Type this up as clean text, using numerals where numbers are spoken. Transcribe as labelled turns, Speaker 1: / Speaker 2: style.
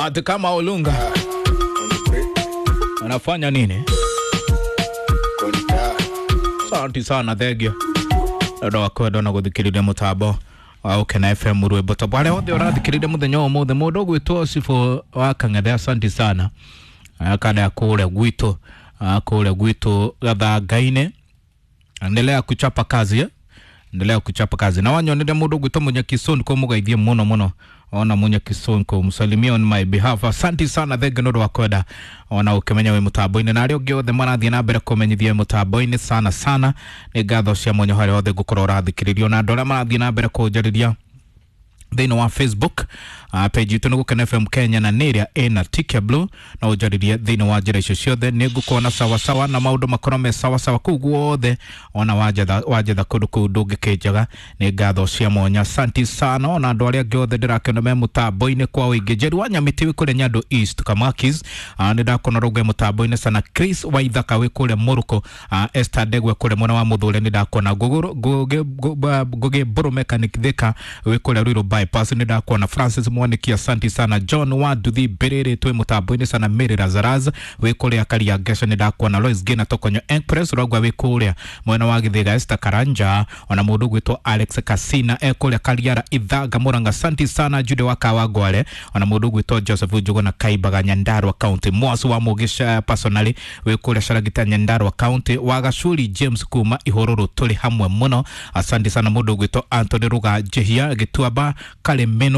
Speaker 1: Ati kama Olunga anafanya nini? Asante sana thengio ndu wa kwenda na guthikiriria mutambo wa Ukena FM rwimbo tombo aria othe urathikiriria muthenya wa umuthi mundu ugwitwo Cibũ wa Kang'ethe, asante sana kada kuria gwitu, kuria gwitu Gathangainĩ. Endelea kuchapa kazi, eh? Endelea kuchapa kazi na wanyonire mundu ugwitwo Munyakisonko mugeithie muno muno ona Munyakisonko msalimie on my behalf. Asante sana thengio ndu wa kwenda ona ukimenya wi mutambo-inĩ na arĩa ũngĩ othe marathiĩ na mbere kũmenyithia mutambo-inĩ sana sana nĩ ngatho cia mwanya harĩa othe ngũkorwo ũrathikĩrĩrio na andũ arĩa marathiĩ na mbere kũnjarĩria thĩinĩ wa Facebook, page itũ nĩ Gũkena FM Kenya na nĩ ĩrĩa ĩna tick ya blue na ũnjarĩrie thĩinĩ wa njĩra icio ciothe nĩ ngũkuona sawasawa na maũndũ makorwo me sawasawa kũu guothe ona wanjetha wanjetha kũndũ kũu ndũngĩkĩnjaga nĩ ngatho cia mwanya asanti sana ona andũ arĩa angĩ othe ndĩrakĩona me mũtambo-inĩ kwa ũingĩ. Njeri wa Nyamĩtĩ wĩ kũrĩa Nyando East Kamakis, nĩ ndakuona rũgwe mũtambo-inĩ sana. Chris Waithaka wĩ kũrĩa Mũrũkũ, Esther Ndegwe kũrĩa mwena wa Mũthũre nĩ ndakuona. Ngũgĩ Mbũrũ Mechanic Thika wĩ kũrĩa Ruiru Bypass nĩ ndakuona. Francis Mwaniki asanti sana. John wa Nduthi Mbĩrĩrĩ twĩ mũtambo-inĩ sana. Mary Razaraz wĩ kũrĩa Karia Ngesha nĩ ndakuona. Lois Gina Tokonyo Express ũrauga wĩ kũrĩa mwena wa Gĩthĩga. Esther Karanja ona mũndũ ũgwĩtwo Alex Kasina e kũrĩa Kariara Ithanga Mũrang'a asanti sana. Jude wa Kawangware ona mũndũ ũgwĩtwo Joseph Njuguna Kaimbaga Nyandarua County. Mwasu wa Mugisha personally wĩ kũrĩa Caragita Nyandarua County. Wa Gacuri James kuma Ihũrũrũ tũrĩ hamwe mũno asante sana. Mũndũ ũgwĩtwo Anthony Ruga Njihia Gĩtuamba Karĩmĩno.